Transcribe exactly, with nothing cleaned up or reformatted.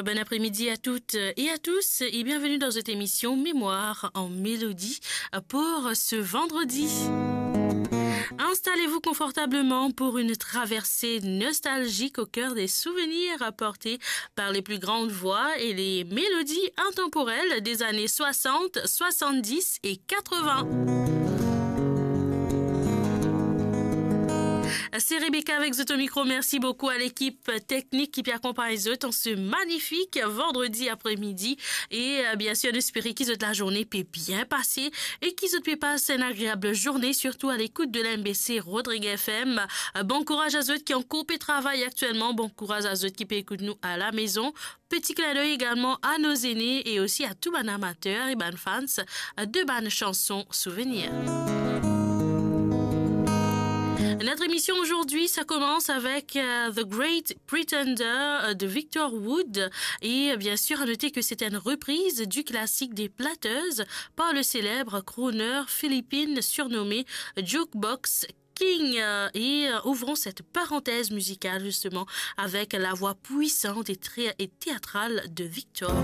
Bon après-midi à toutes et à tous et bienvenue dans cette émission Mémoire en mélodie pour ce vendredi. Installez-vous confortablement pour une traversée nostalgique au cœur des souvenirs apportés par les plus grandes voix et les mélodies intemporelles des années soixante, soixante-dix et quatre-vingts. C'est Rebecca avec zot au micro. Merci beaucoup à l'équipe technique ki pe akonpagn zot an se magnifique vendredi après-midi. E, euh, bien sûr, nou espere ki zot lazourne pe bien pase e ki zot pe pas enn agreab zourne, surtout à l'écoute de l'M B C Rodrigues F M. Euh, bon kouraz a zot ki ankor pe travay aktielman. Bon kouraz a zot ki pe ekout nou à la maison. Petit clin d'œil également à nos aînés et aussi à tous bann amateur e bann fans de bann chanson souvenir. Notre émission aujourd'hui, ça commence avec, euh, The Great Pretender, euh, de Victor Wood. Et, euh, bien sûr, à noter que c'est une reprise du classique des Platters par le célèbre crooner philippin surnommé Jukebox King, euh, et, euh, ouvrons cette parenthèse musicale justement avec la voix puissante et très, et théâtrale de Victor.